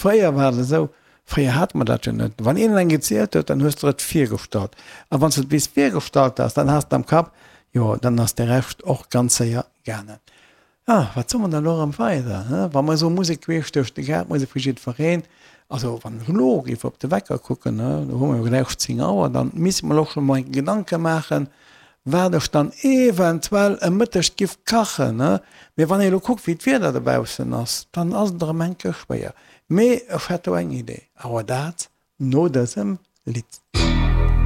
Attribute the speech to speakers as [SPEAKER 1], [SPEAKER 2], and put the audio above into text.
[SPEAKER 1] Fréier war et esou, fréier hate mer dat jo net. Wann een eng gezielt huet, dann hues de der et virgestallt. A wann s de et bis virgestallt has, dann has de am Kapp, jo, dann ass de Rescht och ganz séier gaangen. Ah, wat soe mer dann elo erëm weider, he? Wa mer esou Musek queesch duerch de Gaart, Musek fir jiddwereen. Also wann ech elo géif op de Wecker kucken, he, do hu mer jo gläich 10 Auer, dann misst mer elo scho mol Gedanke maachen, wat ech dann eventuell e Mëtteg giff kachen, he. Mee wann ee elo kuckt, wéi d'Wieder dobaussen ass, dann ass et erëm eng Kéier schwéier. Mee ech hätt do eng Idee, awer dat no dësem Lidd.